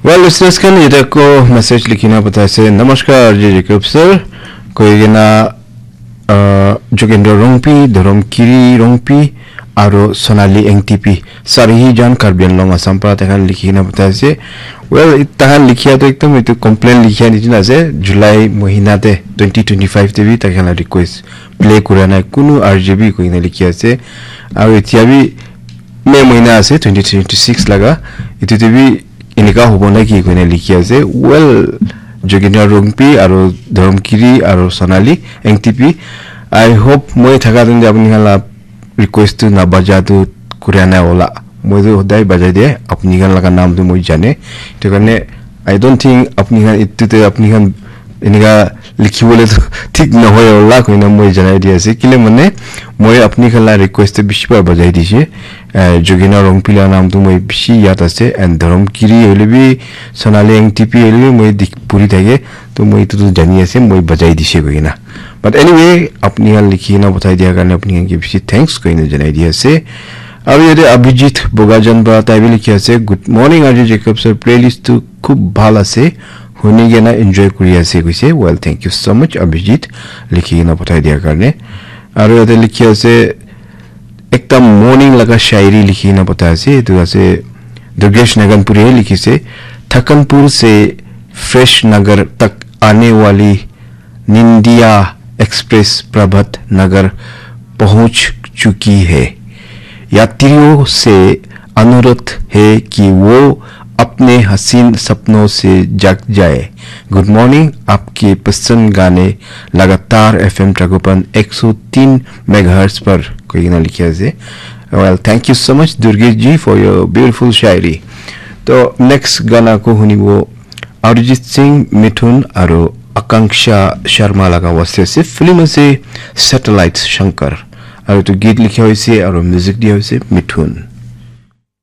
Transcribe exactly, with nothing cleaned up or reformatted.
Well, listeners khan, yate ko message likhina patai ase, "Namaskar, R J Jacob sir," koi kena, uh, Jogendra Rongpi, Dhorom Kiri Rongpi, aro Sonali Engtipi. Sarihi jan Karbi Anglong Assam pra takhan likhina patai ase. Well, it-, takhan likhia to ekdom itu complain likhia nijina ase. July mohina te, twenty twenty-five te bi takhan la request play kura nai, kunu R J bi koina likhia ase. Aro etia bi May mohina ase, twenty twenty-six laga. Itu te bi enika hobo na ki koina likhi ase. Well, Jogendra Rongpi aro Dhorom Kiri aro Sonali Engtipi, I hope moi thaka din apni khan la request tu na baja tu kuria na ola. Moi tu hodai bajai de, apni khan laga naam tu moi jane. Itu karne, I don't think apni khan itu te apni khan enika likhibole tu thik nohoi ola koina moi janai di ase. Kile mane, moi apni khan la request te bishi bar bajai dise. Eh, Jogendra Rongpi la naam tu moi bishi yad ase, and Dhorom Kiri hoile bi, Sonali Engtipi hoile bi moi dik puri thake, to moi itu tu jani ase, moi bajai dise koina. But anyway, apni khan likhi na pathai dia karne apni khan ke bishi thanks koina janai di ase. Aru yate Abhijit Bogajan pra tai bi likhi ase, "Good morning, R J Jacob sir, playlist tu khub bhal ase, huni kena enjoy kuri ase," koise. Well, thank you so much, Abhijit, likhi kena pathai dia karne. Aru yate likhi ase, ekta morning laga shairi likhi kena pathai ase. Etu ase Durgesh Naganpuri he likhi ase, "Thakanpur se Fresh Nagar tak aane wali Nindia Express Prabhat Nagar pahunch chuki hai. Yatriyon se anurodh hai ki wo apne haseen sapnon se jaag jaye. Good morning, aapke pasand gaane lagatar F M Tragopan ek so teen megahertz par," koi kena likhi ase. Well, thank you so much, Durgesh ji, for your beautiful shairi. To next gana ko hunibo Arijit Singh, Mithun aru Akanksha Sharma laga waste ase. Film ase Satellite Shankar. Aru etu git likha hoise aru music dia hoise Mithun.